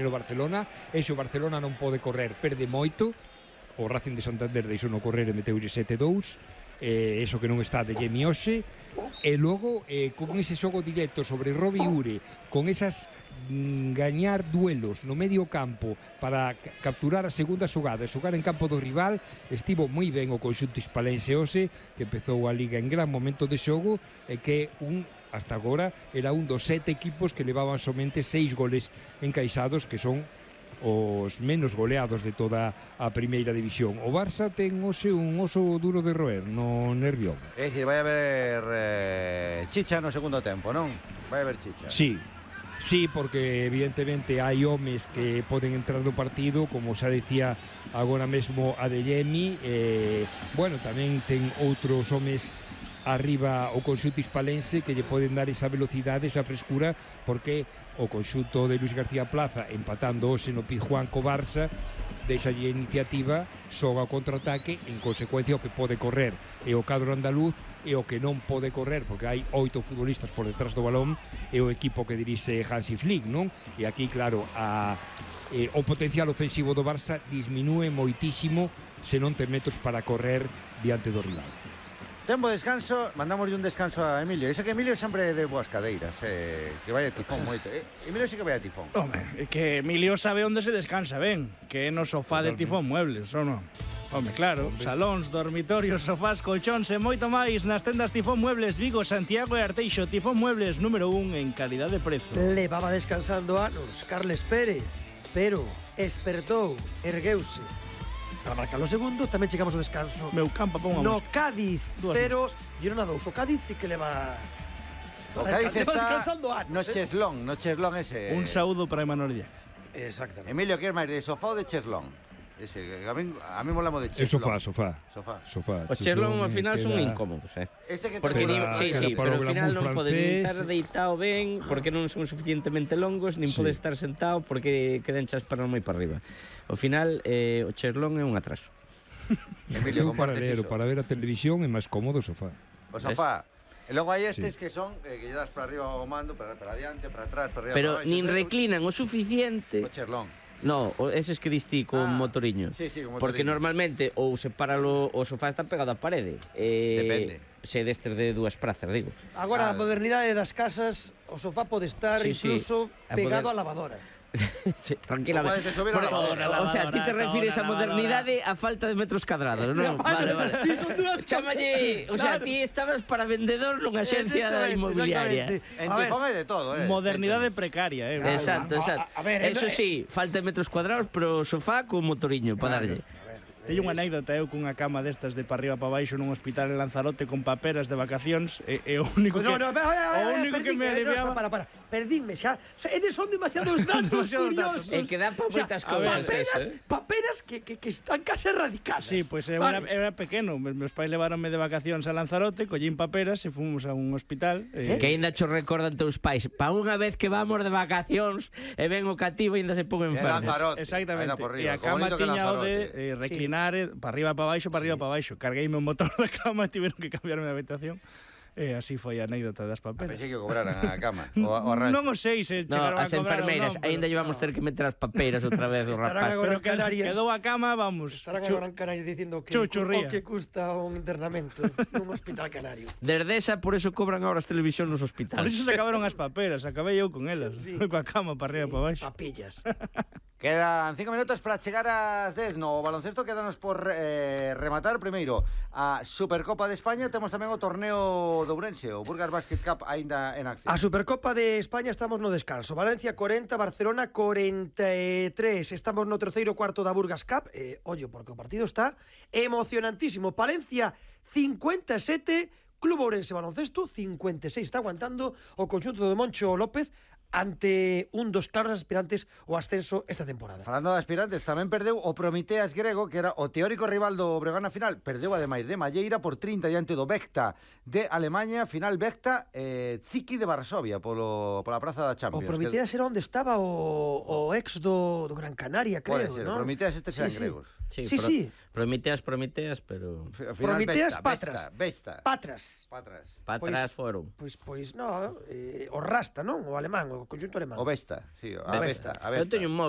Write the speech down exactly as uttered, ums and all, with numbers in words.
o Barcelona, e se o Barcelona non pode correr, perde moito. O Racing de Santander deixou no correr e meteulle sete dous, eh, eso que non está de Jemi hoxe, e logo eh, con ese xogo directo sobre Robi Ure, con esas mm, gañar duelos no medio campo para capturar a segunda xogada e xogar en campo do rival, estivo moi ben o conxunto hispalense hoxe, que empezou a Liga en gran momento de xogo, e que un hasta agora era un dos sete equipos que levaban somente seis goles encaixados, que son os menos goleados de toda a primeira división. O Barça ten hoxe un oso duro de roer no Nervión. É dicir, vai haber eh, chicha no segundo tempo, non? Vai haber chicha. Sí, sí, porque evidentemente hai homes que poden entrar no partido, como xa decía agora mesmo Adeyemi, eh, bueno, tamén ten outros homes arriba o conxunto hispalense que lle poden dar esa velocidade, esa frescura, porque o conxunto de Luis García Plaza empatando hoxe no Pizjuán co Barça deixa a iniciativa, xoga o contraataque, en consecuencia o que pode correr e o cadro andaluz, e o que non pode correr, porque hai oito futbolistas por detrás do balón, é o equipo que dirixe Hansi Flick, non? E aquí, claro, a, eh, o potencial ofensivo do Barça disminúe moitísimo se non ten metros para correr diante do rival. Tempo de descanso, mandamos un descanso a Emilio. Iso que Emilio sempre de boas cadeiras, eh, que vai a tifón moito. Eh, Emilio sí que vai a tifón. Home, é que Emilio sabe onde se descansa ben, que é no sofá de Tifón Muebles, ou non? Home, claro, Hombre. salóns, dormitorios, sofás, colchóns e moito máis nas tendas Tifón Muebles Vigo, Santiago e Arteixo. Tifón Muebles número un en calidad de prezo. Levaba descansando anos Carles Pérez, pero espertou, ergueuse. Para marcar o segundo, tamén chegamos ao descanso. Meu campo, pon no Cádiz, pero Girona dous. O Cádiz sí que leva... O Cádiz está descansando anos, no Cheslón, no Cheslón ese. Un saúdo para Emanuel Díaz. Exactamente. Emilio, que é máis de sofá ou de Cheslón? Ese, a mí, a mí molamos de Cheslón. É sofá, sofá. Sofá. Sofá. O Cheslón ao final son incómodos, eh. Este que porque ni, sí, sí, pero ao final non podes nin estar deitado ben, porque non son suficientemente longos, nin sí. podes estar sentado porque queden chas para moi para arriba. Ao final, eh, o Cheslón é un atraso. Emilio, para ver, para ver a televisión é máis cómodo o sofá. O sofá. E logo hai estes sí. que son eh, que lle das para arriba o mando, para, para adiante, para atrás, para arriba, pero para abaixo. Pero nin reclinan o suficiente. O Cheslón. No, eses que distí con ah, motoriño. Sí, sí, con motoriño. Porque normalmente ou se para lo, o sofá está pegado á parede. Eh, Depende. Se destes de dúas prazas, digo. Agora, ah, a modernidade das casas, o sofá pode estar sí, incluso sí. pegado á lavadora. Sí, tranquilamente. Por, o sea, ti te refires a modernidade a falta de metros cadrados, non? Vale, vale. Sí, son dúas Chámalle, o sea, ti estabas para vendedor nunha axencia da inmobiliaria. En Tifón hai de todo, eh. Modernidade precaria, eh. Exacto, exacto. A, a ver, eso sí, falta de metros cuadrados, pero sofá con motoriño para darlle. Teño unha anécdota eu cunha cama destas de para arriba para baixo nun hospital en Lanzarote con paperas de vacacións e, e o único que no, no, o único que me aliviaba... No, para, para, perdínme xa. O sea, eles son demasiados datos curiosos. E que dá para moitas cousas. Paperas, eh? paperas que, que, que están case radicadas. Sí, pois pues, eu, vale. era, era pequeno. Meus pais leváronme de vacacións a Lanzarote, collín paperas e fomos a un hospital. Eh. Que ainda cho recordan teus pais. Pa unha vez que vamos de vacacións e ven o cativo e ainda se pon enfermo. Exactamente. E a cama tiña o de eh, reclinar sí. para arriba para baixo, para sí. arriba para baixo. Cargueime o motor da cama e tiveron que cambiarme de habitación. E así foi a anécdota das paperas. A pensei que cobraran a cama o, o a rancho. Non o sei se chegaron no, a cobrar enfermeiras, non, aínda llevamos no. ter que meter as papeiras outra vez do rapaz. Pero quedou a cama, vamos. Estarán agora en Canarias dicindo que o que custa un internamento nun hospital canario. Desde esa, por eso cobran agora as televisións nos hospitais. Por eso se acabaron as paperas, acabei eu con elas. Sí. Coa cama para arriba sí, para baixo. Papillas. Quedan cinco minutos para chegar ás dez. No baloncesto quedanos por eh, rematar primeiro a Supercopa de España. Temos tamén o torneo de Ourense, o Burgas Basket Cup aínda en acción. A Supercopa de España estamos no descanso. Valencia corenta, Barcelona corenta e tres. Estamos no terceiro cuarto da Burgas Cup. Eh, ollo, porque o partido está emocionantísimo. Palencia cincuenta e sete, Club Ourense Baloncesto cincuenta e seis. Está aguantando o conxunto de Moncho López ante un dos claros aspirantes ao ascenso esta temporada. Falando de aspirantes, tamén perdeu o Prometeas grego, que era o teórico rival do Breogán na final. Perdeu ademais de Malleira por trinta diante do Vecta de Alemanha. Final Vecta, eh, Ziki de Varsovia polo, pola praza da Champions. O Prometeas era onde estaba o, o ex do, do Gran Canaria, creo, ser, ¿no? O Prometeas estes eran sí, gregos. Sí, sí, pro, sí. Prometeas, Prometeas, pero... Prometeas, Patras. Vesta. Patras. Patras. Patras foron. Pois, pois, no, eh, o Rasta, non? O alemán, o o conxunto alemán. O Vesta, sí, a Vesta. Vesta, a Vesta. Eu teño un móvil